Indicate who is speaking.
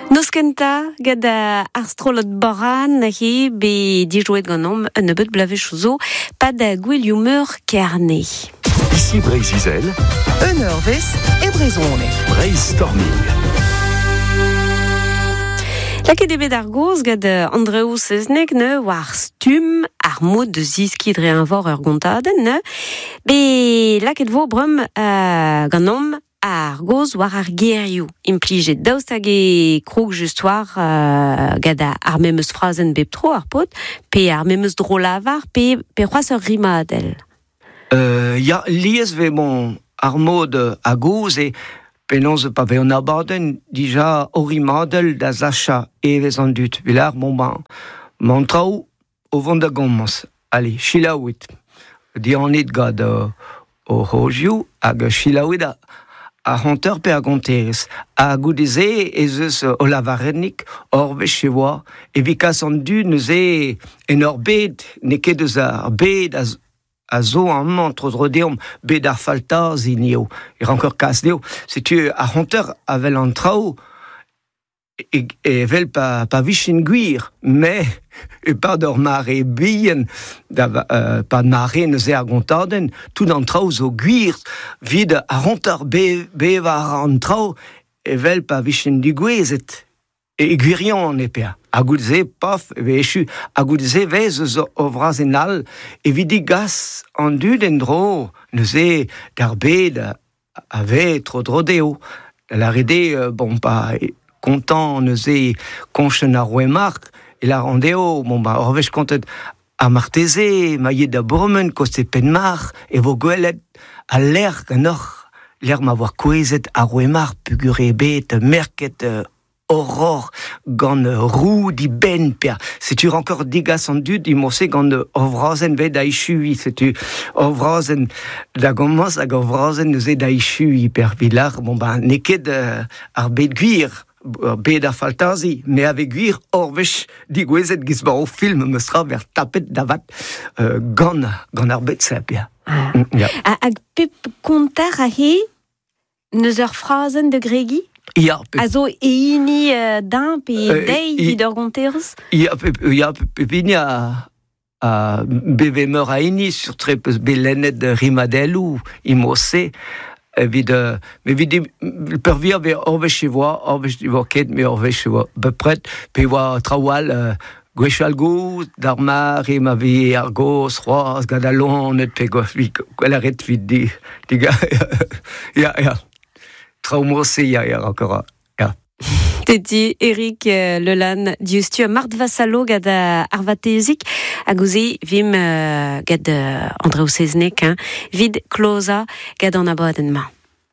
Speaker 1: Noz kentañ gant ar strollad Boran he bet dijouet ganeomp un nebeud bloavezhioù zo pad gouelioù-meur Kerne.
Speaker 2: Ici Breizh-Izel.
Speaker 3: Un eurvezh e brezhoneg.
Speaker 2: Breizh-Storming.
Speaker 1: Lakaet eo bet ar gaoz gant Andrev Sezneg neuze war stumm ar mod da zeskiñ dre eñvor ur gontadenn neuze. Bet lakaet vo bremañ ganeomp ar gaoz war ar gerioù implijet. Daoust hag e krog just war gant ar memes frazenn bep tro ar paotr, pe ar memes dro-lavar, pe, pe c'hoazh ur rimadell?
Speaker 4: Ya, lies vez bon ar mod a-gozh eo penaos pa vez an abadenn dija o rimadell da sachañ evezh an dud. Evit bon ben, 'mañ an traoù o vont da gomañs. Allez, selaouit. Dianit gant o c'hozioù hag selaouit ar c'honter pe ar gonterez. Ha goude-se ez eus o lavarennig ur wech e oa evit kas an dud neuze en ur bed n'eo ket eus ar bed a a zo amañ tro-dro deomp bet ar faltazi eo e ranker kas dezho. Setu ar c'honter a wel an traoù evel pa, pa vijen gwir, mais e-pad ur mare bihan, da, pad mare neuze ar gontadenn, tout an traoù zo gwir, 'vit ar c'honter bevañ an traoù evel pa vijen digouezhet. E gwirionez pea. Ha goude-se, paf, e vez echu. Ha goude-se vez eus ur vrazenn all evit degas an dud en-dro neuze d'ar bed a vez tro-dro dezho. Da lâret eo, bon, pa kontañ neuze koñchenn ar Roue-Marc, e lâran dezho, bon, ba, ur wech kontet ha marteze ma yit da bourmen koste Penmarc'h e vo gwelet al lec'h ganeoc'h, lec'h ma voa kouezhet ar Roue-Marc'h peogwir eo bet merket horror gant roue dibenn per setu rankor degas an dud emañ-se gant ur vrazenn vet da echuiñ setu ur vrazenn da gomañs hag ur vrazenn neuze da echuiñ per Vilar bon ben n'eo ket ar bed gwir ur bed ar faltazi me a vez gwir ur wech degouezhet giz 'ba o film meus tra ver tapet da vat gant gant ar bed-se pia.
Speaker 1: Ya. Hag pep konter aze N'eus ur frazenn da gregiñ?
Speaker 4: Ya.
Speaker 1: A zo e hini din pe dezhi evit ur gonterez?
Speaker 4: Ya, ya, pep hini a, a beve meur a hini, sur-tre peus bet lennet rimadelloù imo-se evit evit peurvuiañ vez ur wech e voa, ur wech ne voa ket, met ur wech e voa bepred, pe e oa traoù all gwechall gozh, d'ar mare ma veze ar gozh c'hoazh gant al loened pe gwell a ret evit di, ya, ya. Traoù mod-se ya, ya, encore, ya.
Speaker 1: Teti Eric Lelan diouzhtu ha Marthe Vassalo gant ar vatezig hag ouzh vim gant Andrev Seznec hein, 'vit klozañ gant an abadenn-mañ.